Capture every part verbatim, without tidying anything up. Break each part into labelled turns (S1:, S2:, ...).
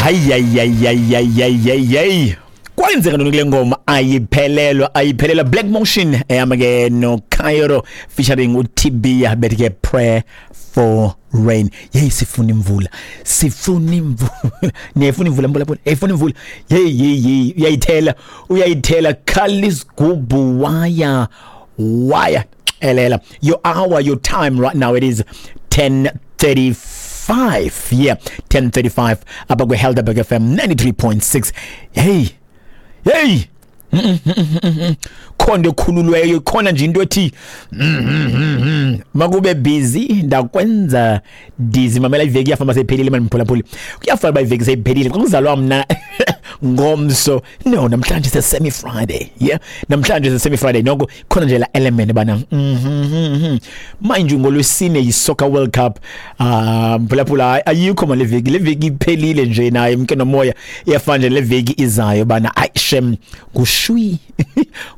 S1: Hayi hayi hayi hayi hayi hayi, kwenzeka ntoni kule ngoma? Ayiphelelwa, ayiphelelwa. Black Motion ehamba ke no Cairo featuring uTibia, bethi ke "Prayer for Rain". Hey, sifuna imvula, sifuna imvula. Niyayifuna imvula, mphulaphula? Eyifuna imvula. Hey hey hey, uyayithela, uyayithela. Khalisgubhu waya waya elela. Your hour, your time right now, it is ten thirty-five. Yeah, ten thirty-five apha kwi Helderberg F M ninety-three point six. Hey hey, khona ekhululweyo, khona nje into ethi makube busy, ndakwenza dizzy. Mamela, iveki iyafamba, seyiphelile mani, mphulaphuli. Kuyafana uba iveki seyiphelile xa kuzalwa mna ngomso. No, namhlanje se-semi Friday. Yeah, namhlanje se-semi Friday. Noko khona nje la element bana mhm mind you, ngolwesine yi-Soccer World Cup. Ah, mphulaphula, ayikho mali veki, le veki iphelile nje naye mke nomoya. Iyafana nje le veki izayo bana ayi shem, ngushwi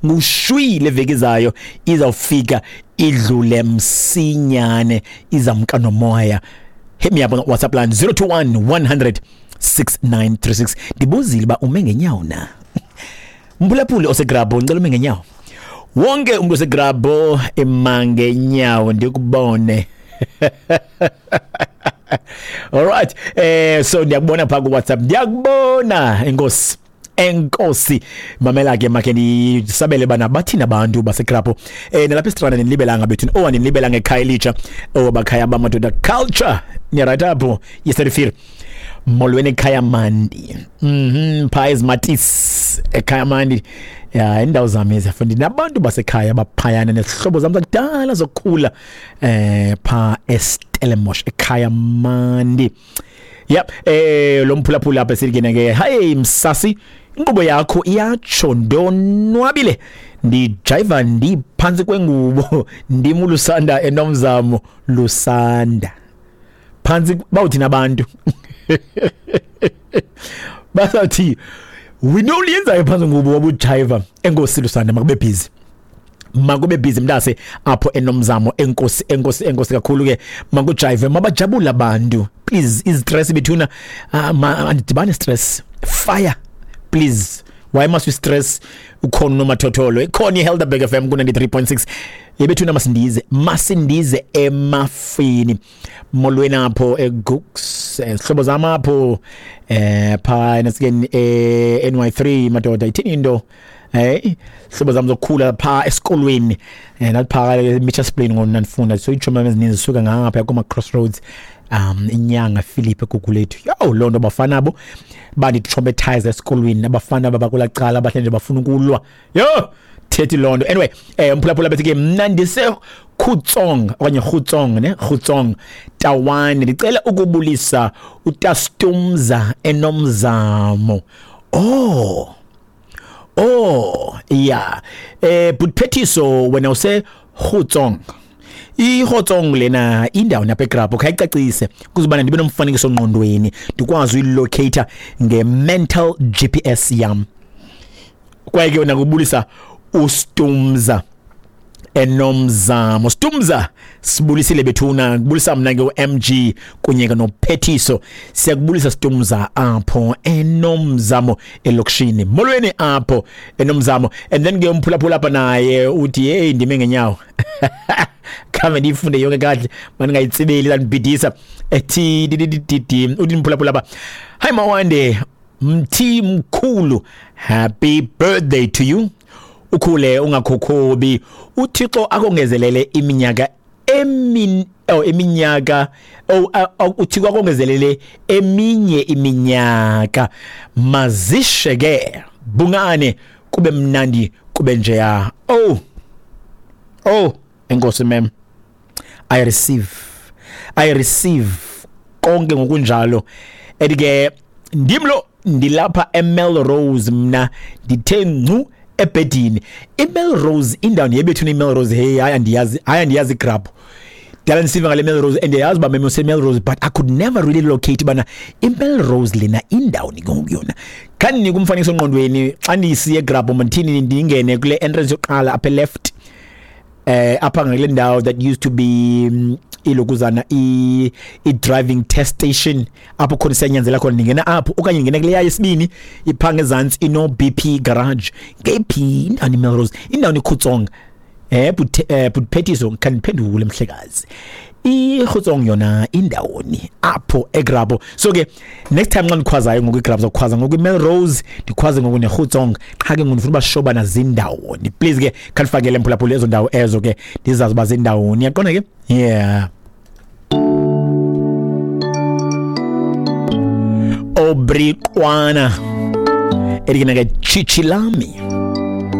S1: ngushwi. Le veki izayo izawufika idlule msinyane, izamka nomoya. Hit me up on WhatsApp line zero two one, one hundred six nine three six. Ndibuzile uba ume ngenyawo na, mphulaphuli osegrabho? Ngicela ume ngenyawo, wonke umuntu osegrabho emangenyawo, ndikubone. Alright, eh so ndiyakubona pha ku WhatsApp, ndiyakubona. Enkosi, enkosi. Mamela ke, makhe ndisabele bana bathini abantu basegrabho eh nalapha esitrana. Nilibelanga bethu, oh, andinilibelanga ekhaya elitsha, oh, bakhaya bamadoda culture. Ni right apho yesterday. Molweni ekhaya mandi. mhm pha ezimatis ekhaya mandi ya, indawo zami ezifundi nabantu basekhaya baphayana nesihlobo zami zakudala zokukhula eh pha eStellenbosch ekhaya mandi. Yep, eh lo mphulaphula apha silikena ke: "Hey msasi, inkqubo yakho iyatsho, ndonwabile, ndijayiva ndiphantsi kwengubo. Ndim uLusanda enomzamo." Lusanda phantsi, bawuthina abantu basathi we know liyenzayo phantsi ngubo wabujayiva. Enkosi Lusanda, makube busy, makube busy mntase apho enomzamo. Enkosi, enkosi, enkosi kakhulu ke. Makujive, mabajabule abantu, please. Izistress bethuna, uh, andidibane stress fire, please. Why must we stress? Ukhona unomathotholo, ikhona iHelderberg F M ku ninety-three point six yebethuna. Masindize, masindize emafini. Molweni apho eGooks, sihlobo zam apho eh pha nasikeni eh N Y three madoda, ithini into? Eh hlobo zam zokukhula pha esikolweni, eh nathi Mitchells Plain ngona ndifunda, so iitshomi ezininzi zisuka ngapha kuma crossroads, um inyanga Philip eGugulethu. Yo, loo nto bafana abo banditraumatize esikolweni, abafana babakulacala abahle nje bafuna ukulwa. Yo, thethi loo nto. Anyway, eh umphulaphula bethi ke: "Mna ndise Khutsong okanye Khutsong ne Khutsong Tawane, ndicela ukubulisa uTastumza enomzamo." Oh oh yeah, eh Butphethiso, wena use Khutsong, iHotsong lena indawo napha eGrabho, khayicacise kuzobana ndibe nomfanekiso ngqondweni, ndikwazi uyilocate nge-mental G P S yam. Kwaye ke wena kubulisa uStumza enomzamo. Stumza, sibulisile bethuna, kubulisa mna ke u M G kunye ke noPhethiso. Siyakubulisa Stumza apho enomzamo elokishini. Molweni apho enomzamo. And then ke umphulaphula apha naye uthi: "Hey, ndime ngenyawo." Khame ndiyifunde yonke kahle, mandingayitsibeli, landibhidisa. Ethi didididi, uthi mphulaphula apha: "Hi Mawande, mthi mkhulu, happy birthday to you. Ukhule ungakhokhobi, uThixo akongezelele iminyaka emin oh iminyaka oh uThixo akongezelele eminye iminyaka. Mazishe ke bungane, kube mnandi, kube njeya." Oh oh, enkosi mem, I receive, I receive konke ngokunjalo. Ethi ke: "Ndimlo, ndilapha eMelrose, mna ndithe ncu ebhedini." IMelrose indawo yebethu iMelrose. Hey, hayi, andiyazi, hayi, andiyazi igrab dala ndisiva ngale Melrose and ndiyayazi uba meme useMelrose, but I could never really locate bana iMelrose lena indawo nikuyona. Khandinika umfanekiso ngqondweni xa ndisiye egrabho, mandithini, ndingene kule entrance yokuqala apha left, eh apha ngale ndawo that used to be um, Ilokuzana i i-driving test station apho khona siyanyanzela khona, ningena apho okanye ningena kuleya yesibini ipha ngezantsi ino B P garage. Ngephi indawo iMelrose, indawo iKhutsong? Eh butphetiso khandiphendule mhlekazi, iKhutsong yona indawoni apho eGrabho? So ke next time xa ndikhwazayo ngoku iGrabho, zokhwaza ngoku iMelrose, ndikhwaze ngoku neKhutsong, qha ke ngoku ndifuna uba sure bana zindawoni. Please ke khandifakele mphulaphula ezo ndawo ezo ke ndizazi uba zindawoni. Yaqonda ke? Yeah. Obriqwana elikena ke Chichilami.